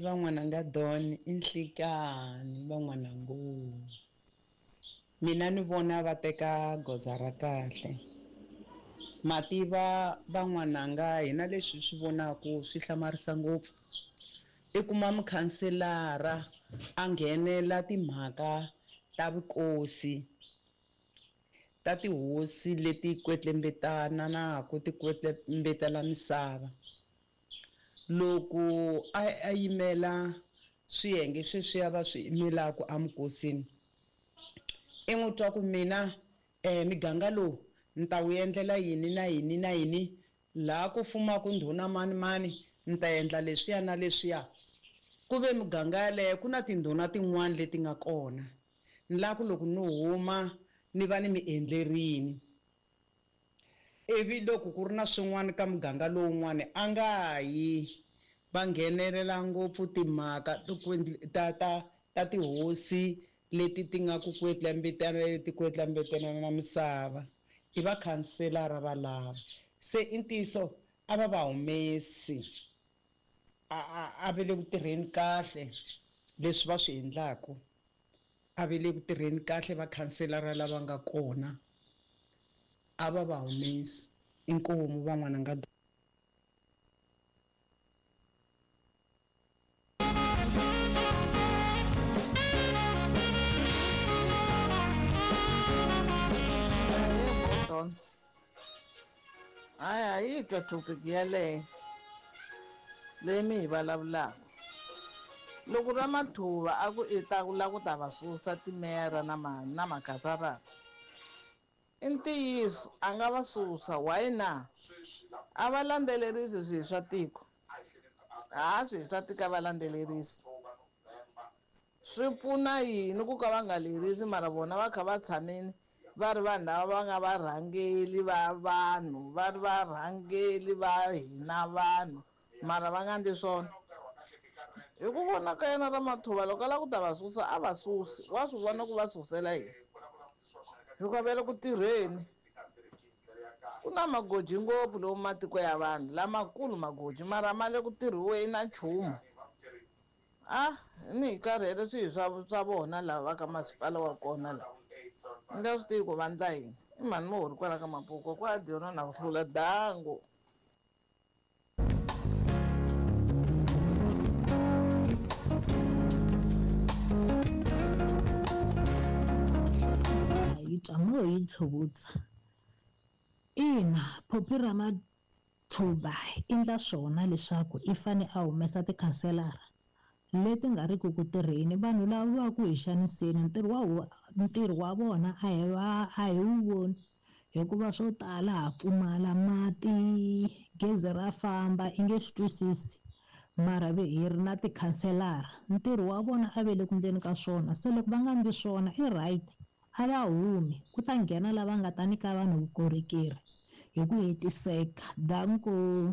Van'wananga Don i nhlikani van'wanango. Mina ni vona va teka goza ra kahle. Mativa van'wananga hina leswi hi swi vonaku swi hlamarisa ngopfu. I kuma mukhanselara a nghenela timhaka ta vukosi ta tihosi leti kwetlembetananaku ti kwetlembetela misava. Loko a a yimela swiyenge sweswiya va swi yimelaka emukosini, i n'wi twa ku mina miganga lowu ni ta wu endlela yini na yini na yini, laha ku fumaka ndhuna mani-mani ni ta endla leswiya na leswiya. Ku ve miganga yaleyo ku na tindhuna tin'wana leti nga kona, ni lava ku loko ni huma ni va ni mi endlerile. Ivi loko ku ri na swin'wana ka muganga lowun'wana a nga yi. Va nghenelela ngopfu timhaka ta ta ta tihosi leti ti nga ku ti kwetlambetelana na misava. I vakhanselara valava. Se i ntiyiso a va va humesi. A a a va le ku tirheni kahle leswi va swi endlaka. A va le ku tirheni kahle vakhanselara lava nga kona. A va va humesi. Inkomu van'wana nga. Hayi a yi twa topic yaleyo leyi mi yi vulavulaka. Loko Ramathuva a ku i ta la ku ta va susa timeyara na ma na makhansarara i ntiyiso a nga va susa why na a va landzelerisi swilo swa tiko ha swilo swa tiko a va landzelerisi swi pfuna yini ku ka va nga lerisi mara vona va kha va tshamile va ri vanhu lava va nga varhangeli va vanhu va ri varhangeli va hina vanhu mara va nga endli swona hi ku vona ka yena Ramathuva loko a lava ku ta va susa a va susi wa swi vona ku va susela yini hikuva va le ku tirheni ku na magoji ngopfu lomu matiko ya vanhu lamakulu magoji mara ma le ku tirhiweni na nchumu a ni hi karhele swihi swa swa vona lava va ka masipala wa kona la ni nga swi tivi ku va ndla yini i mhani muhori kwala ka mapuko kwa dyona na ku hlula dangu. Yi twa mo yi tlhuvutsa. Ina, Phophi Ramathuba i ndla swona leswaku i fane a humesa tikhanselara leti nga riki ku tirheni. Vanhu lava va ku hi xaniseni ntirho wa ntirho wa vona a hi va a hi wu voni hikuva swo tala ha pfumala mati, gezi ra famba i nge swi twisisi mara ve hi ri na tikhanselara ntirho wa vona a ve le ku ndleni ka swona se loko va nga ndli swona i right a va humi ku ta nghena lava nga ta nyika vanhu vukorhokeri hi ku hetiseka. Danko.